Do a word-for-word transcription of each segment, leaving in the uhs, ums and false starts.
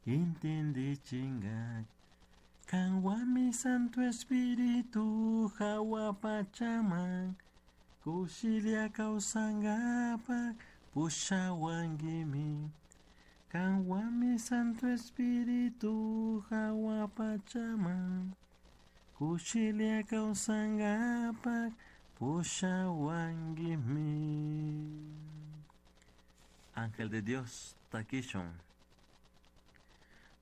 Intindichinga Kanwami Santo Espíritu hawa pachaman Kushilia kawsangapak pushawankimi Kanwami Santo Espíritu hawa pachaman Kushilia kawsangapak pushawankimi. Ángel de Dios, takishun.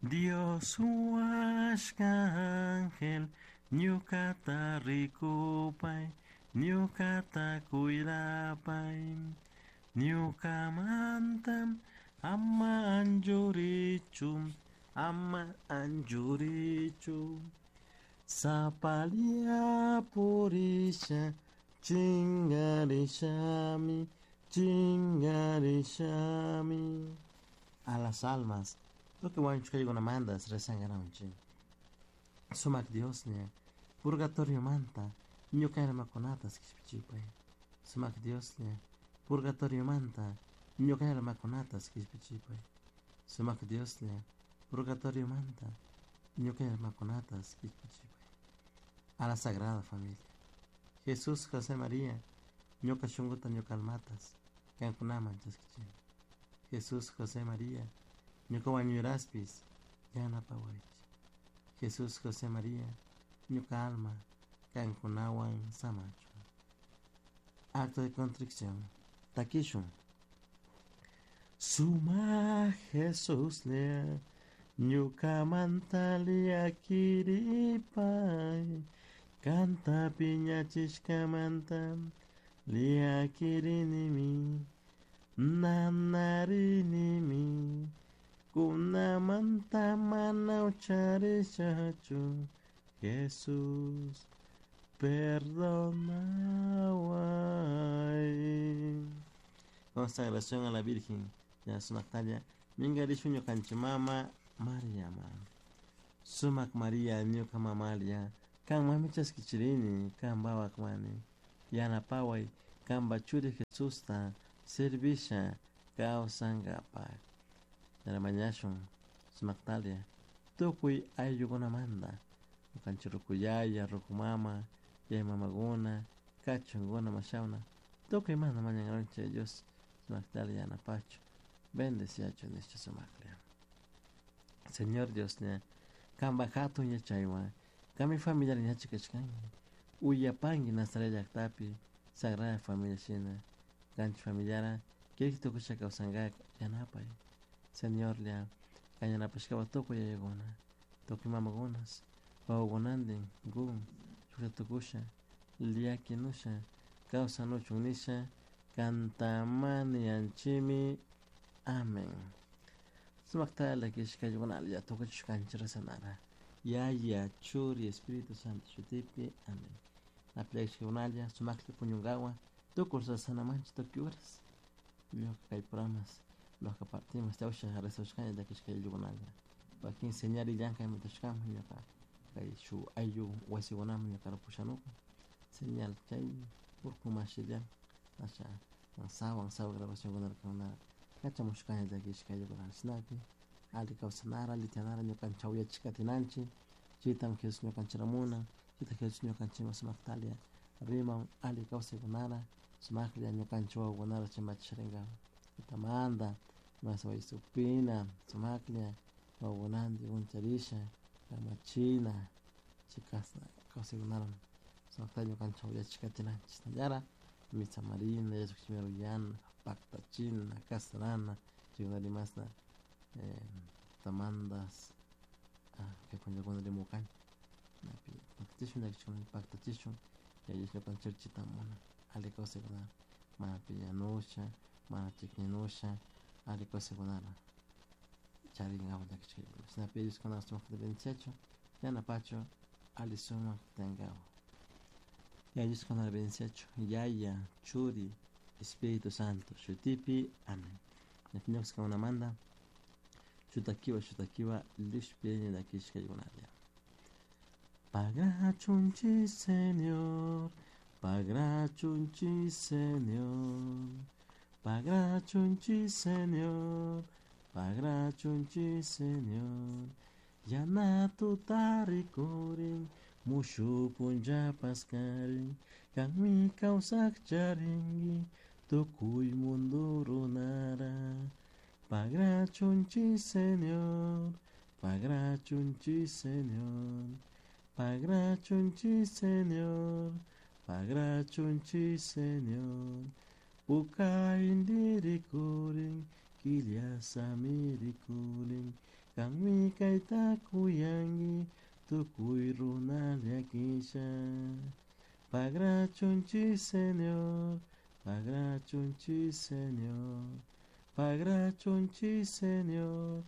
Dios huashka ángel, ñukata rikupay, ñukata cuidapay, ñukamantam ama anchurichu, ama anchurichu. Sapalia purisha, chingarishami, chingarishami. A las almas, tukuy wañushkaykunamantas rezangaranchik. Sumak Dioslla, purgatorio manta, ñuka almakunatas kishpichipay. Sumak Dioslla, purgatorio manta, ñuka almakunatas kishpichipay. Sumak Dioslla, purgatorio manta, ñuka almakunatas kishpichipay. A la Sagrada Familia. Jesús, José, María, ñuka shunkuta ñuka almatas, kankunaman chaskichini. Jesús, José, María, ñuka wañuraspis, yanapawaychik. Jesús, José, María, ñuka alma, kankunawan samachun. Acto de contrición. Takishun. Suma Jesús lea, ñukamanta llakiripay, kanta piñachishkamanta llakirinimi, nanarinimi, kunamanta mana ucharishachu, Jesús, perdonaway. Consagración a la Virgen ya sumaktalla minkarishun ñukanchik mama Mariama. Sumak María ñuka mamalla, kanmanmi chaskichirini, kan wawakmani, yanapaway kanpa churi Jesusta servisha kawsankapak. Mañashun sumaktalla tukuy ayllukunamanta, ñukanchik rukuyaya, rukumama, yaya mamakuna, kachunkuna, mashawna, tukuymanta mañankaranchik Dios sumaktalla yanapachu, bendeciachu nishpa sumaklla. Señor Dioslla, kanpak hatun yachaywan, kanmi familiar yachak kashkanki, uyapanki Nazaret llaktapi Sagrada Familia shina, kanchik familiara kirik tukusha kawsankak yanapay. Señorlla, kan yanapashkapak tukuy yayakuna, tukuy mamakunas, wawakunantin kun shuklla tukusha, llakinusha, kawsanuchun nisha, kantamaniyanchikmi. Amén. Sumakta llakishkaykunalla tukuchishkanchik rezanara. Yaya, Churi, Espíritu Santo shutipi. Amén. Napi sumakta puñunkawan tukuy rezanamanchik tukuy horas. Ñuka kay programas ñuka partimos chawsha rezashkani llakishkaykunalla. Wakin señal llankay mitashkaman ñuka kay shuk ayllu wasikunaman ñuka pushanukun señal chay urku mashillan asha sawan sawa grabacionkunata kachamushkani llakishkaykunata chashnapi alli kawsanara alli tiyanara ñukanchik uyachik katinanchik chaytami Jesús ñukanchikta munan chayta Jesús ñukanchikman sumaktalla riman alli kawsaykunara sumaklla ñukanchik wawakunata chimbachishrinkapak tutamanta mas supina sumaklla wawakunantin uncharisha kamachina chay kashna kawsaykunara sumakta ñukanchik uyachik katinanchik chashnallara mitsamarina yachakchimi paktachina kasarana chaykunata imashna tutamantas kay punllakuna rimukani napi paktachishun llakichikuna paktachishun Yaya Dios ñukanchik chita munan alli kawsaykunata mana piñanusha mana chikninusha alli kawsaykunata charinkapak llakichikuna chashnapi Dios kuna sumakta bendiciachun yanapachun alli sumak tiyankapak. Yaya Dios kuna bendiciachun Yaya, Churi, Espíritu Santo shutipi. Amén. Ñukanchik shutakiwa shutakiwa llushpini llakishkaykunalla. Pagrachunchik Señor, pagrachunchik Señor, pagrachunchik Señor, Pagrachunchi Señor. Yana tuta rikurin, mushu punlla paskarin, kanmi kawsak charinki, tukuy mundo runara. Pagrachunchi Señor, pagrachunchi Señor, pagrachunchi Señor, pagrachunchi Señor. Puka indi rikurin, killa sami rikurin, kanmi kayta kuyanki, tukuy runa llakisha. Pagrachunchi Señor, pagrachunchi Señor, pagrachunchi Señor,